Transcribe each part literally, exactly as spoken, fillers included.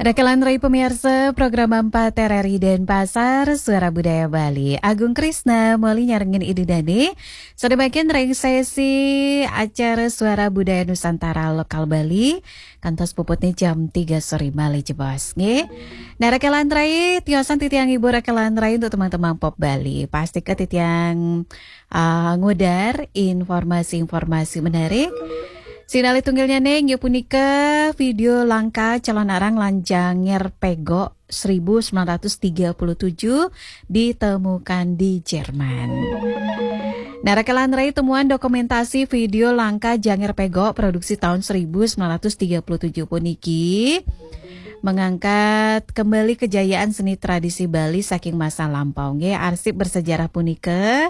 Rekelan rai pemirsa program empat R R I Denpasar, Suara Budaya Bali. Agung Krisna, moli nyarengin Ibu Dani. Sadabakin ring sesi acara Suara Budaya Nusantara Lokal Bali. Kantos puputnya jam tiga sore malih jebos, nggih. Nah, rekelan rai, tiosan titiang ibu rekelan rai untuk teman-teman pop Bali. Pasti ke titiang ah, ngudar informasi-informasi menarik. Sinalih tunggilnya ning, ya punika video langkah calon arang lan janger pego seribu sembilan ratus tiga puluh tujuh ditemukan di Jerman. Nah, rekelan rai temuan dokumentasi video langkah janger pego produksi tahun seribu sembilan ratus tiga puluh tujuh puniki mengangkat kembali kejayaan seni tradisi Bali saking masa lampau. Nggih, arsip bersejarah punika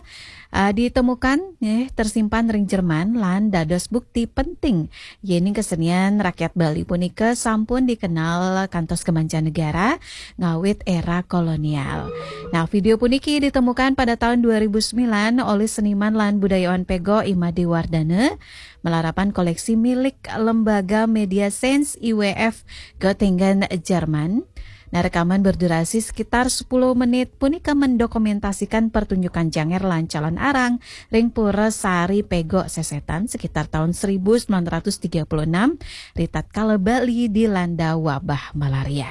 ah, ditemukan nggih tersimpan ring Jerman lan dados bukti penting yening kesenian rakyat Bali punika sampun dikenal kantos ke mancanegara ngawit era kolonial. Nah, video puniki ditemukan pada tahun dua ribu sembilan oleh seniman lan budayawan pego I Made Wardana, malarapan koleksi milik Lembaga Media Sense I W F Göttingen, Jerman. Nah, rekaman berdurasi sekitar sepuluh menit punika mendokumentasikan pertunjukan janger lan calon arang ring Pura Sari Pego Sesetan sekitar tahun seribu sembilan ratus tiga puluh enam, ritatkala Bali dilanda wabah malaria.